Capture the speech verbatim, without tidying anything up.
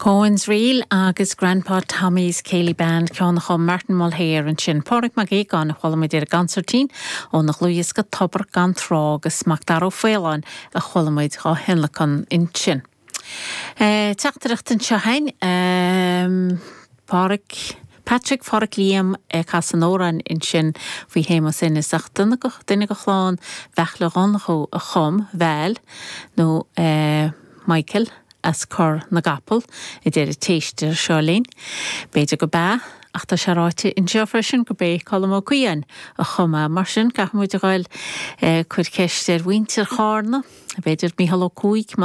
Cohen's Reel agus Grandpa Tommy's Céilí Band ceann a chum Martin Mulhare ansin Pádraig Mac Aogáin a chuala muid ar an gconsairtín óna dhlúthdhiosca Tobar gan Trá agus Macdara Ó Faoláin a chuala muid á thionlacan ansin. Eh, Teachtaireacht anseo againn um, Pádraig Patrick Phádraic Liam ag casadh an amhráin ansin faoi Shéamus Ennis ach duine de chlann Bheachla Dhonnchú a chum Val nó eh, Michael as Cor na gCapall a deir an t-éisteoir seo linn. B'fhéidir gurb ea ach tá sé ráite anseo freisin gurb é Colm Ó Cuain a chum é mar sin caithfidh muid a ghabháil eh, cur ceist ar mhuintir Chárna, B'fhéidir Mícheál Ó Cuaig